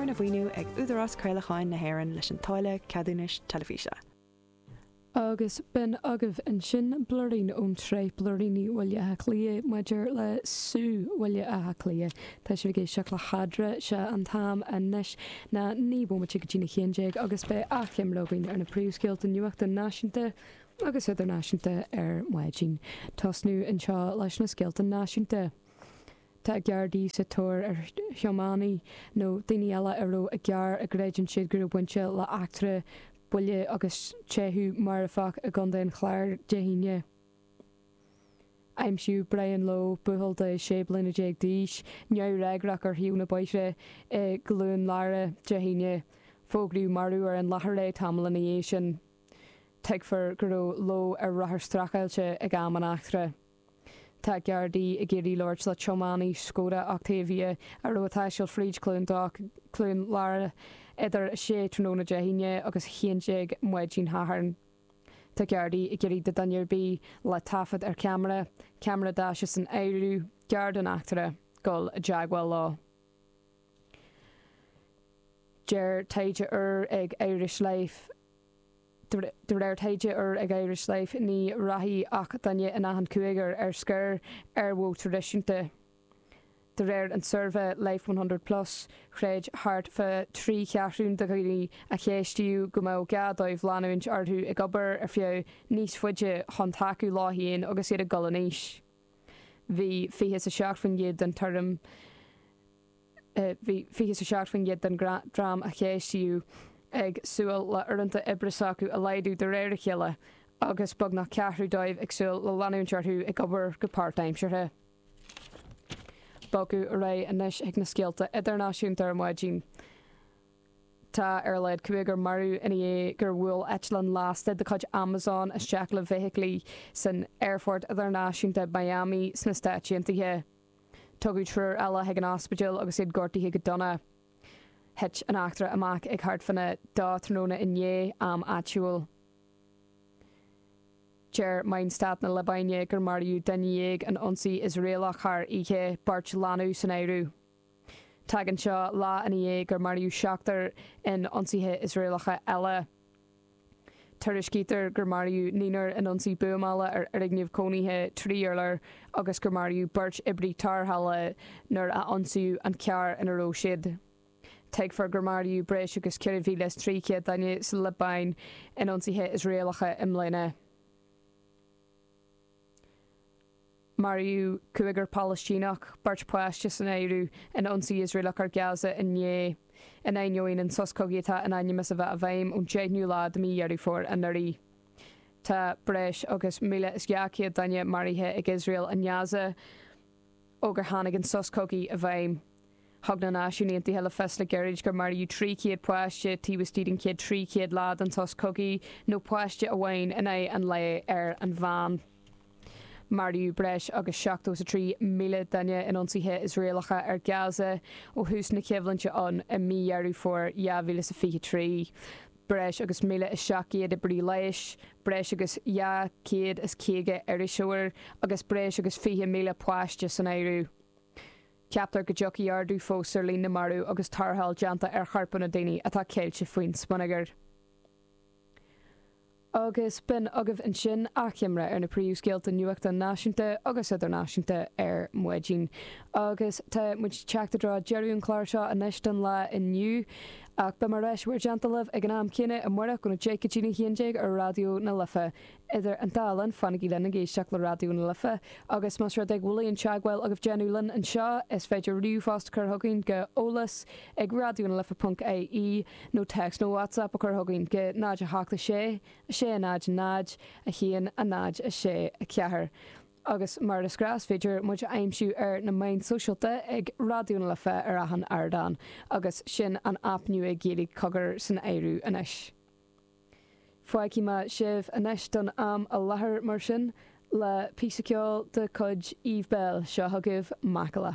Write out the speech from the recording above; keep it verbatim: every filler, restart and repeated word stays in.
Arna mhaoiniú ag Údarás Craolacháin na hÉireann leis an táille ceadúnais teilifíse. Agus b'in agaibh ansin blúirín ón tsraith Blúiríní Bhaile Átha Cliath maidir le Sú Bhaile Átha Cliath. Tá sibh ag éisteacht le hEadra sé an t-am anois ná naoi bomaite go dtí a haon déag agus beidh achoimre againn ar na príomhscéalta nuachta náisiúnta agus idirnáisiúnta ar maidin. Tosnú anseo leis na scéalta náisiúnta. Tá Gardaí sa tóir ar thiománaí nó daoine eile a raibh i gcarr a gcreideann siad go raibh baint le heachtra buille agus teitheadh marfach i gContae an Chláir Dé hAoine. Aimsíodh Brian Lowe buachaill de sé bliana déag d'aois, neamhfhreagrach ar thaobh na bóithre i gCluain Lara Dé hAoine, fógraíodh marbh ar an láthair é tamall ina dhiaidh sin. Tuigtear go raibh Lowe ar rothar streachailte ag am an eachtra. Tá Gardaí ag iarraidh labhairt le tiománaí Skoda Octavia a raibh ag taisteal fríd Cluain Cluain Lara idir sé tráthnóna Dé hAoine agus haon déag maidin Shathairn. Tá Gardaí ag iarraidh do dhuine ar bith le taifead ar cheamara, ceamara daise san áireamh, gar don eachtra, dul i dteagmháil leo. Deir taighde úr ag Irish Life De réir taighde úr ag Irish Life ní rachaidh ach duine in achan cúigear ar scor ar mhodh traidisiúnta. De réir an suirbhé Life one hundred plus, chreid thart fá trí cheathrún de dhaoine a ceistíodh go mbeadh gá dóibh leanúint orthu ag obair ar feadh níos faide chun tacú leo féin agus iad ag dul in aois. Bhí fiche is a seacht faoin gcéad den tuairim Bhí fiche is a seacht faoin gcéad den dream a ceistíodh ag súil le uaireanta oibre s'acu a laghdú de réir a chéile agus beagnach ceathrú dóibh ag súil le leanúint orthu ag obair go páirtaimseartha. Bogadh ar aghaidh anois chuig na scéalta idirnáisiúnta ar maidin. Tá ar a laghad cúigear marbh i ndiaidh gur bhuail eitleán lasta de chuid Amazon isteach le feithiclí san Aerfort Idirnáisiúnta Miami sna Stáit Aontaithe. Tugadh triúr eile chuig an ospidéal agus iad gortaithe go dona. Thit an eachtra amach ag thart fána dó tráthnóna inné, am áitiúil. Deir meáin stáit na Liobáine gur maraíodh duine dhéag in ionsaí Iosraelach thar oíche, beirt leanbh san áireamh. Tagann seo lá ina dhiaidh gur maraíodh seachtar in ionsaithe Iosraelacha eile. Tuairiscítear gur maraíodh naonúr in ionsaí buamála ar fhoirgneamh cónaithe trí urlár agus gur maraíodh beirt oibrí tarrthála nuair a ionsaíodh an carr ina raibh siad. Tuigtear gur maraíodh breis agus ceithre mhíle is trí chéad duine sa Liobáin in ionsaithe Iosraelacha i mbliana. Maraíodh cúigear Palaistíneach, beirt pháiste san áireamh, in ionsaí Iosraelach ar Gaza inné, in ainneoin an sos cogaidh atá in ainm is a bheith i bhfeidhm ón deichiú lá de mhí Dheireadh Fómhair anuraidh. Tá breis agus míle is dhá chéad duine maraithe ag Iosrael i nGaza ó gur tháinig an sos cogaidh i bhfeidhm. Thug na Náisiúin Aontaithe le fios le gairid gur maraíodh trí chéad páiste taobh istigh den chéad trí chéad lá den sos cogaidh, nó páiste amháin in aghaidh an lae ar an mheán. Maraíodh breis agus seachtó is a trí míle duine in ionsaithe Iosraelacha ar Gaza ó thús na coimhlinte ann i mí Dheireadh Fómhair dhá mhíle is a fiche trí. Breis agus míle is seacht gcéad oibrí leighis, breis agus dhá chéad is caoga iriseoir agus breis agus fiche míle páiste san áireamh. Ceaptar go dtiocfaidh ardú fós ar líon na marbh agus tarrtháil déanta ar chorpanna daoine atá ceilte faoin smionagar. Agus b'in agaibh ansin achoimre ar na príomhscéalta nuachta náisiúnta agus idirnáisiúnta ar maidin. Agus tá muid ag teacht i dtreo deireadh an chláir seo anois don lá inniu. Ach beidh mé ar ais i bhur dteannta libh ag an am céanna amárach óna deich go dtí a haon déag ar Raidió na Life. Idir an dá linn, fanaigí linn ag éisteacht le Raidió na Life agus más rud é go bhfuil aon teagmháil agaibh déanamh linn anseo, is féidir ríomhphost a chur chugainn go eolas ag raidionalife ponc ie nó téacs nó WhatsApp a chur chugainn go náid a hocht a sé, a sé a náid a náid, a haon a náid a sé a ceathair. Agus mar is gnáth is féidir muid a aimsiú ar na meáin sóisialta ag Raidió na Life ar achan ardán agus sin an aip nua Gaeilge Cogar san áireamh anois. Fágfaidh mé sibh anois don am i láthair mar sin le píosa ceoil de chuid Eve Belle, seo chugaibh Macalla.